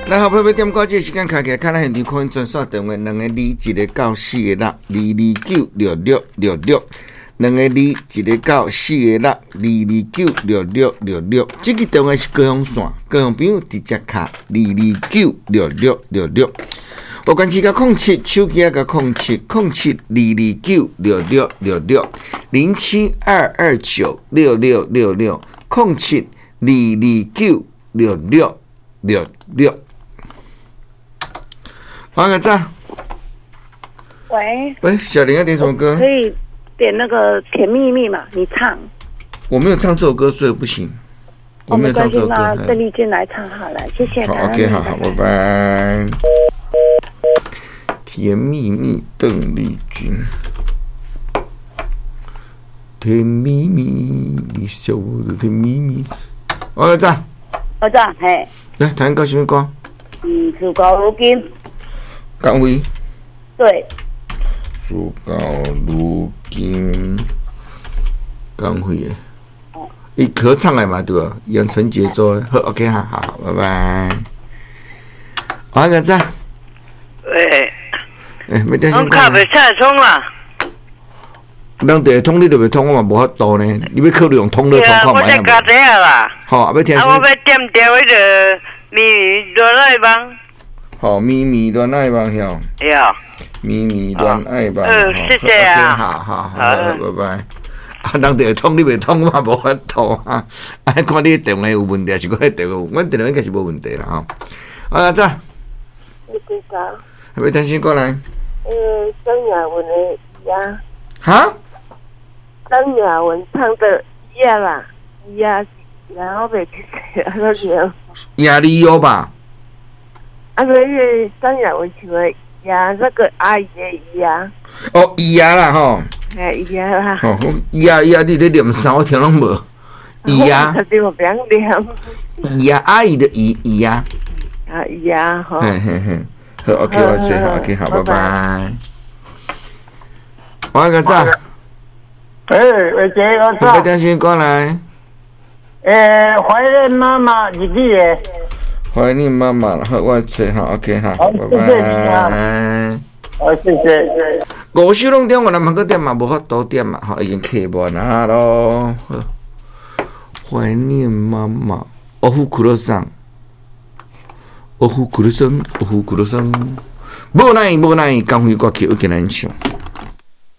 來，好朋友點歌，這個時間開起來，看咱現場可以專線電話2 2 1 9 4 6 2 2 9 6 6 6 6，2 2 1 9 4 6 2 2 9 6 6 6 6。這個電話是高雄線，高雄朋友直接敲2296666。我關機個07，手機個0707 2296666，072296666，07 2296666。黃個讚。喂。喂，小林要點什麼歌？可以點那個《甜蜜蜜》嘛？你唱。我沒有唱這首歌，所以不行。我沒有唱這首歌。鄧麗君來唱好了，謝謝。好，OK，好好，拜拜。甜蜜蜜，鄧麗君。甜蜜蜜，你笑得甜蜜蜜。王個讚。我讚，嘿。來，彈個什麼歌？嗯，事到如今。江輝。對。事到如今，江輝的。伊合唱的嘛對吧？楊丞傑做的，好，OK 哈，好，拜拜。王個讚。喂。欸，欲點我卡袂使通啦。人就會通，你就袂通，我嘛無法度呢。你欲考慮用通樂通看覓。我在家底啊啦。好，欲聽。啊，我欲點著彼个绵绵戀愛夢。好，綿綿戀愛夢曉。對。綿綿戀愛夢。嗯，謝謝啊。好好好，拜拜。啊，人就會通，你袂通，我嘛無法度啊。啊，看你電話有問題，還是我電話有？阮電話應該是無問題啦吼。啊，早。欲聽啥歌來？張雅文的呀。哈？張雅文唱的呀啦呀，然後袂記得那個。亞利歐吧？啊，那個張雅文唱的呀，那個阿姨的呀。哦，呀啦吼。哎呀啦。吼，呀呀，你咧念啥？我聽攏無。呀。我不曉念。呀，阿姨的姨姨呀。啊呀，好。嘿嘿嘿。好，OK，我知，好，OK，好，拜拜。我個早。欸，偉杰，我早。欲點啥歌來？欸，懷念媽媽日語的。懷念媽媽，好，我知，好，OK，好，拜拜。好，謝謝。五首攏點完，咱嘛閣點嘛，無法度點嘛，吼，已經客滿啊咯。懷念媽媽，おふくろさん。おふくろさん，おふくろさん，無奈無奈，江輝歌曲又給咱唱。